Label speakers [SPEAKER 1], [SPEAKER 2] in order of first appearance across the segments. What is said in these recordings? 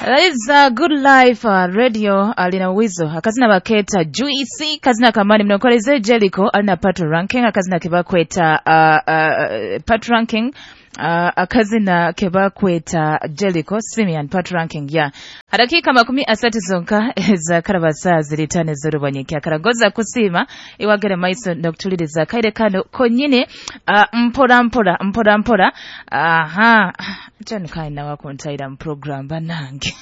[SPEAKER 1] That is Good Life Radio alina Wizo akazina baketa Juicy, kazina kamani mnokoleze Jericho alina Pato Ranking akazina kebakweta Pato Ranking, akazina kebakweta Jericho Simeon Pato Ranking ya dakika 30 zonka za karabasa ziritane z'orubanyiki akaragoza kusima iwagere maiso nokutuliriza kaire kano konyine, mpora mpora mpora mpora. Aha, jani kaina wakuntaira mu program banange.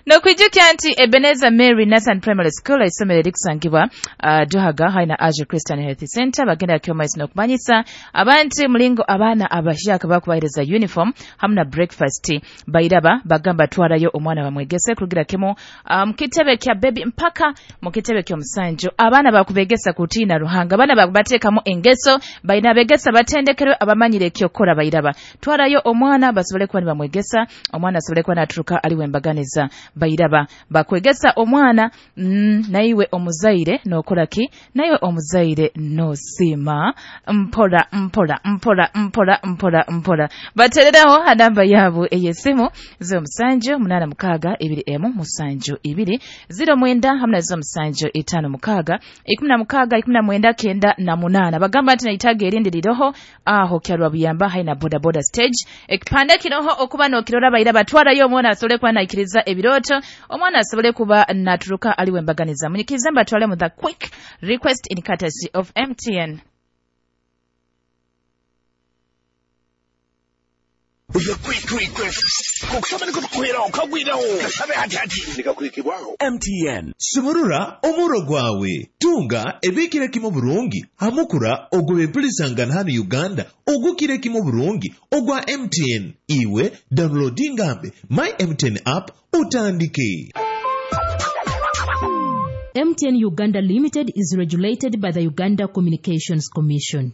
[SPEAKER 1] Nokwijukya nti Ebenezer Mary Nathan Primary School, isomero erikusangibwa Duhaga haina Asia Christian Health Center, bagenda kyomaiso nokumanyisa abantu mulingo abaana abahyaka bakubahereza uniform hamwe na breakfast. Bairaba bagamba twarayo omwana bamwegese kurugira kimu mukitebe kya baby mpaka mukitebe ky'omusanju. Abaana bakubegesa kutiina Ruhanga, abaana bakubateekamu engeso, baina begesa batendekerwe abamanyire ekyokora. Bairaba twarayo omwana basobole kuba nibamwegesa, omwana asobole kuba naturuka aliwe embaganiza. Bairaba bakwegesa omwana, naiwe omuzaire nokora ki, naiwe omuzaire nosima mpora mpora mpora mpora mpora mpora. Batereraho hanamba yabo ey'esimu 07 86 2 7 2 09 hamwe na 07 56 16 98. Bagamba nti naitaga erindi liroho aho kyarwa buyamba haina boda boda stage ekipande kiroho okuba nokirora. Baira batwarayo omwana asobole kuba naikiriza ebiroto, omwana asobole kuba naturuka aliwe embaganiza. Munyikirize mbatwale mu the quick request in courtesy of MTN.
[SPEAKER 2] The quick request. Kukusaba niko tukuheraho kagwiraho kasabe hati hati nikakuhikibwaho
[SPEAKER 3] MTN. Sumurura omuro gwawe, tunga ebikire kimu burungi hamukura ogw'empulisangana hano Uganda ogukire kimu burungi ogwa MTN. Iwe downloadingambe My MTN app utandike.
[SPEAKER 4] MTN Uganda Limited is regulated by the Uganda Communications Commission.